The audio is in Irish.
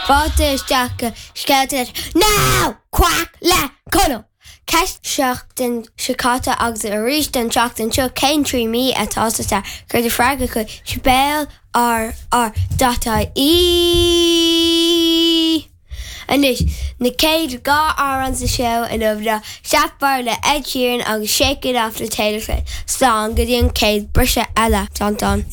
Fáilte isteach go Scéalta Now! Quack le Conall! Ceist seachtain seo caite agus arís don tseachtain seo cén 3 mí atá sa samhradh? Cuir do freagra chuig sbéal r r dot ie. Anois, na chéad 2 amhrán sa seó inniu ná Sapphire le Ed Sheeran agus Shake It Off le Taylor Swift. Slán go dtí an chéad briseadh eile. Slán.